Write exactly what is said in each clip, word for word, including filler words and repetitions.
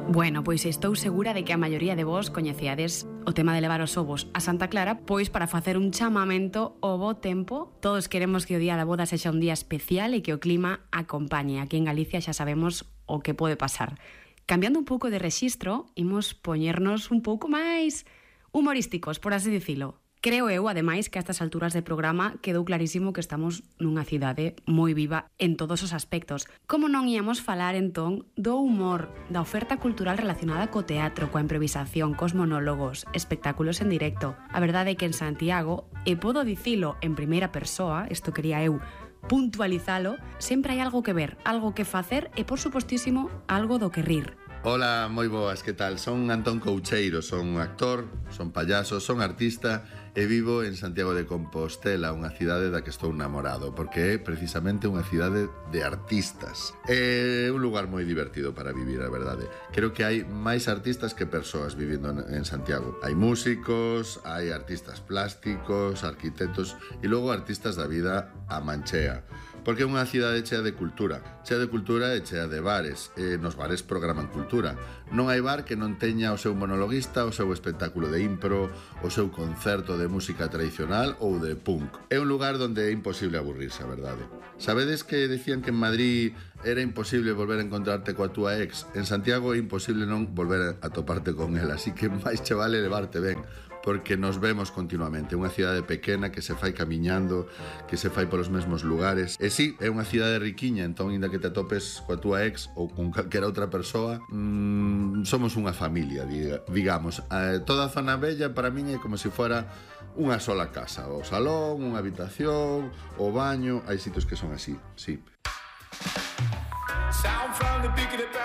Bueno, pois estou segura de que a maioría de vos coñeceades o tema de levar os ovos a Santa Clara, pois para facer un chamamento ao bo tempo. Todos queremos que o día da boda sexa un día especial e que o clima acompañe. Aquí en Galicia xa sabemos o que pode pasar. Cambiando un pouco de rexistro, imos poñernos un pouco máis humorísticos, por así dicilo. Creo eu, ademais, que a estas alturas de programa quedou clarísimo que estamos nunha cidade moi viva en todos os aspectos. Como non íamos falar, entón, do humor, da oferta cultural relacionada co teatro, coa improvisación, cos monólogos, espectáculos en directo. A verdade é que en Santiago, e podo dicilo en primeira persoa, isto quería eu puntualizalo, sempre hai algo que ver, algo que facer e, por supostísimo, algo do que rir. Hola, moi boas, que tal? Son Antón Coucheiro, son actor, son payaso, son artista e vivo en Santiago de Compostela, unha cidade da que estou namorado, porque é precisamente unha cidade de artistas. É un lugar moi divertido para vivir, a verdade. Creo que hai máis artistas que persoas vivindo en Santiago. Hai músicos, hai artistas plásticos, arquitectos e logo artistas da vida a manchea. Porque é unha cidade chea de cultura, chea de cultura e chea de bares, e nos bares programan cultura. Non hai bar que non teña o seu monologuista, o seu espectáculo de impro, o seu concerto de música tradicional ou de punk. É un lugar onde é imposible aburrirse, a verdade. Sabedes que decían que en Madrid era imposible volver a encontrarte coa túa ex? En Santiago é imposible non volver a toparte con ela, así que máis che vale levarte ben, porque nos vemos continuamente. Unha cidade pequena que se fai camiñando, que se fai polos mesmos lugares. E sí, é unha cidade riquiña, entón, inda que te atopes coa túa ex ou con calquera outra persoa, mmm, somos unha familia, diga, digamos. Eh, toda a zona bella para min é como se fora unha sola casa. O salón, unha habitación, o baño, hai sitios que son así, sí.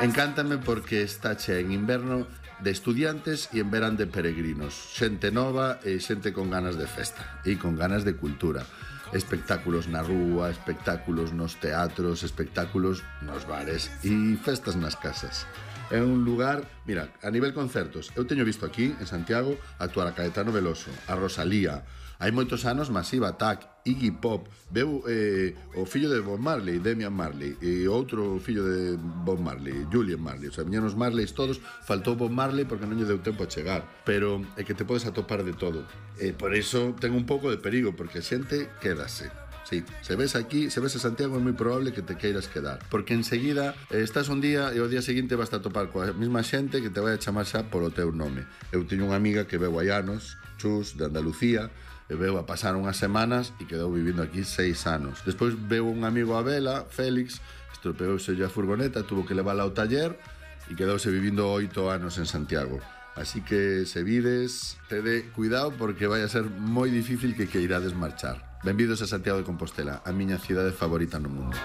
Encántame porque está chea en inverno de estudiantes e en verán de peregrinos, xente nova e xente con ganas de festa e con ganas de cultura, espectáculos na rúa, espectáculos nos teatros, espectáculos nos bares e festas nas casas. É un lugar, mira, a nivel concertos, eu teño visto aquí en Santiago actuar a Caetano Veloso, a Rosalía. Hai moitos anos Massive Attack, Iggy Pop, veu eh, o fillo de Bob Marley, Damian Marley, e outro fillo de Bob Marley, Julian Marley. O sea, viñeron os Marleys todos, faltou Bob Marley porque non lle deu tempo a chegar. Pero é que te podes atopar de todo. E por iso ten un pouco de perigo, porque a xente quédase. Sí, se ves aquí, se ves a Santiago é moi probable que te queiras quedar, porque enseguida eh, estás un día e o día seguinte vas a topar coa mesma xente que te vai a chamar xa polo teu nome. Eu teño unha amiga que veu hai anos, Chus, de Andalucía, e veu a pasar unhas semanas e quedou vivindo aquí seis anos. Despois veu un amigo a vela, Félix, estropeouse a furgoneta, tuvo que levála ao taller e quedouse vivindo oito anos en Santiago. Así que se vides, tede cuidado porque vai a ser moi difícil que queirades marchar. Benvidos a Santiago de Compostela, a miña cidade favorita no mundo.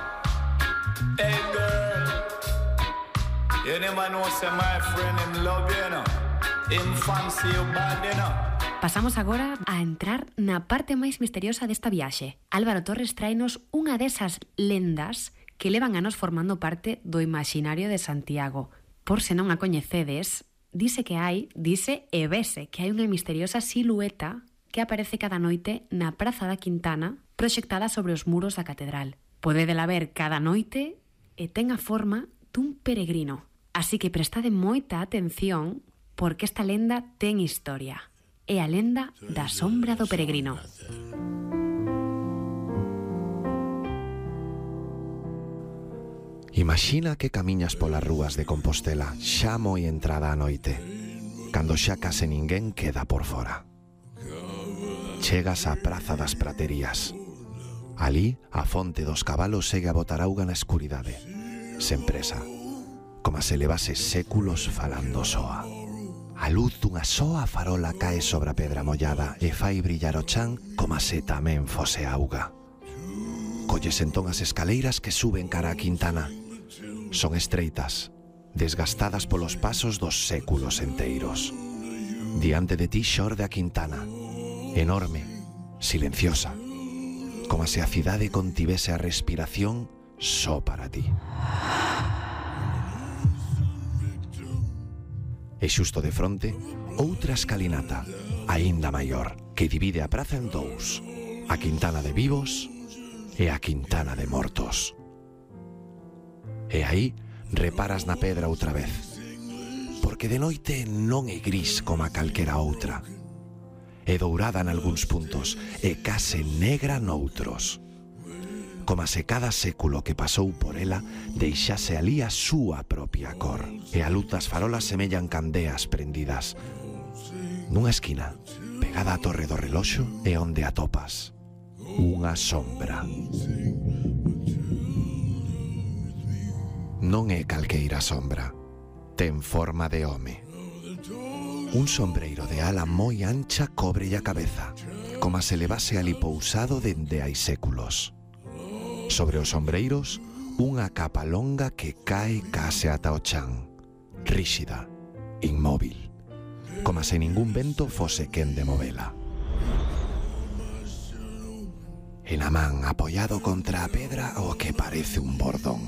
Hey girl, you never know say my friend him love you, no? Him fancy you bad, you know? Pasamos agora a entrar na parte máis misteriosa desta viaxe. Álvaro Torres traenos unha desas lendas que levan anos formando parte do imaginario de Santiago. Por se non a coñecedes, dice que hai, dice e vese que hai unha misteriosa silueta que aparece cada noite na Praza da Quintana, proxectada sobre os muros da catedral. Podedela ver cada noite e ten a forma dun peregrino. Así que prestade moita atención porque esta lenda ten historia. É a lenda da sombra do peregrino. Imagina que camiñas polas rúas de Compostela xa moi entrada a noite, cando xa case ninguén queda por fora. Chegas á Praza das Praterías. Alí, a fonte dos cabalos segue a botar auga na escuridade, sen presa, como se levase séculos falando soa. A luz dunha soa farola cae sobre a pedra mollada e fai brillar o chan como se tamén fose auga. Colles entón as escaleiras que suben cara a Quintana. Son estreitas, desgastadas polos pasos dos séculos enteiros. Diante de ti xorde a Quintana, enorme, silenciosa, como se a cidade contivese a respiración só para ti. E xusto de fronte, outra escalinata, aínda maior, que divide a praza en dous, a Quintana de vivos e a Quintana de mortos. E aí reparas na pedra outra vez. porque de noite non é gris como a calquera outra. É dourada nalgúns puntos e case negra noutros. Como se cada século que pasou por ela deixase alí a súa propia cor. E a luz das farolas semellan candeas prendidas. Nunha esquina, pegada á torre do reloxo, é onde atopas unha sombra. Non é calqueira sombra. Ten forma de home. Un sombreiro de ala moi ancha cobre a cabeza, como se levase ali pousado dende hai séculos. Sobre os sombreiros, unha capa longa que cae case ata o chan, ríxida, inmóvil, como se ningún vento fose quen de movela. E na man, apoiado contra a pedra, o que parece un bordón,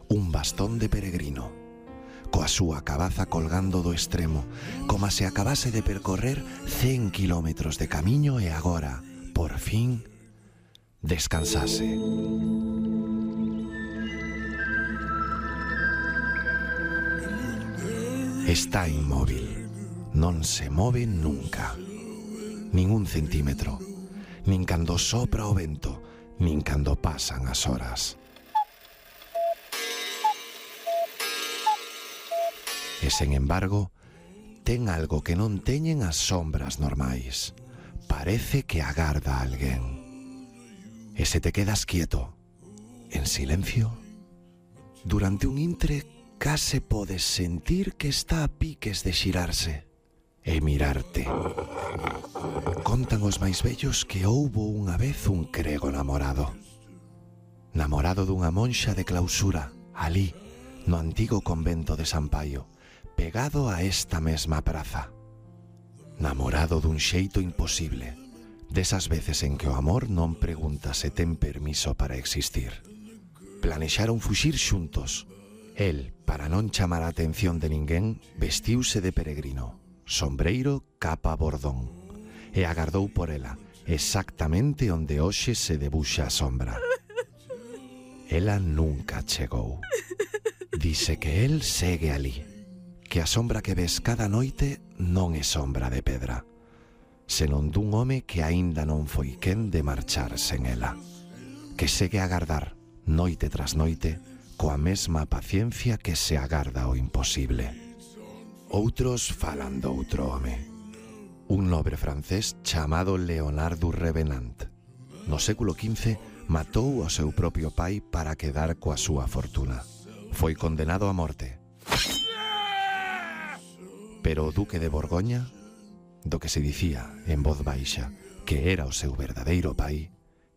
un bastón de peregrino, coa súa cabaza colgando do extremo, como se acabase de percorrer cen kilómetros de camiño e agora, por fin, descansase. Está inmóvil, non se move nunca, nin un centímetro, nin cando sopra o vento, nin cando pasan as horas. E, sen embargo, ten algo que non teñen as sombras normais. Parece que agarda a alguén. E se te quedas quieto, en silencio, durante un intre case podes sentir que está a piques de xirarse e mirarte. Contan os máis vellos que houbo unha vez un crego namorado. Namorado dunha monxa de clausura, alí, no antigo convento de San Paio, pegado a esta mesma praza. Namorado dun xeito imposible, desas veces en que o amor non pregunta se ten permiso para existir. Planexaron fuxir xuntos. El, para non chamar a atención de ninguén, vestiuse de peregrino, sombreiro, capa, bordón, e agardou por ela, exactamente onde hoxe se debuxa a sombra. Ela nunca chegou. Dice que el segue alí, que a sombra que ves cada noite non é sombra de pedra, senón dun home que aínda non foi quen de marchar sen ela, que segue a agardar, noite tras noite, coa mesma paciencia que se agarda o imposible. Outros falan doutro home, un nobre francés chamado Leonard du Revenant. No século quince matou o seu propio pai para quedar coa súa fortuna. Foi condenado a morte. Pero o duque de Borgoña, do que se dicía en voz baixa que era o seu verdadeiro pai,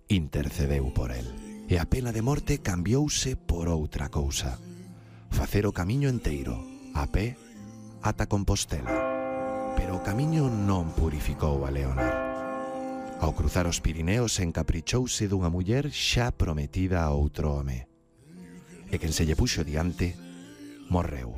intercedeu por el. E a pena de morte cambiouse por outra cousa: facer o camiño enteiro, a pé, ata Compostela. Pero o camiño non purificou a Leonard. Ao cruzar os Pirineos encaprichouse dunha muller xa prometida a outro home. E quen se lle puxo diante, morreu.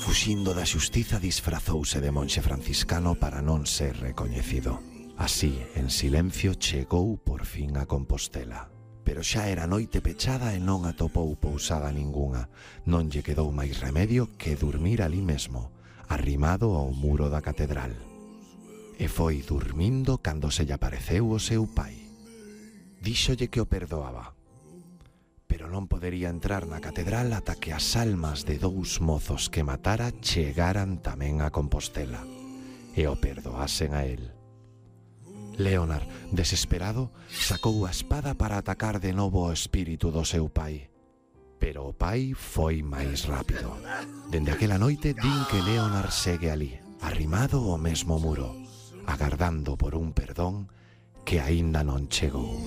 Fuxindo da xustiza disfrazouse de monxe franciscano para non ser recoñecido. Así, en silencio, chegou por fin a Compostela. Pero xa era noite pechada e non atopou pousada ningunha. Non lle quedou máis remedio que dormir ali mesmo, arrimado ao muro da catedral. E foi dormindo cando se lle apareceu o seu pai. Díxolle que o perdoaba, pero non podería entrar na catedral ata que as almas de dous mozos que matara chegaran tamén a Compostela e o perdoasen a él. Leonard, desesperado, sacou a espada para atacar de novo o espírito do seu pai. Pero o pai foi máis rápido. Dende aquela noite din que Leonard segue ali, arrimado ao mesmo muro, agardando por un perdón que aínda non chegou.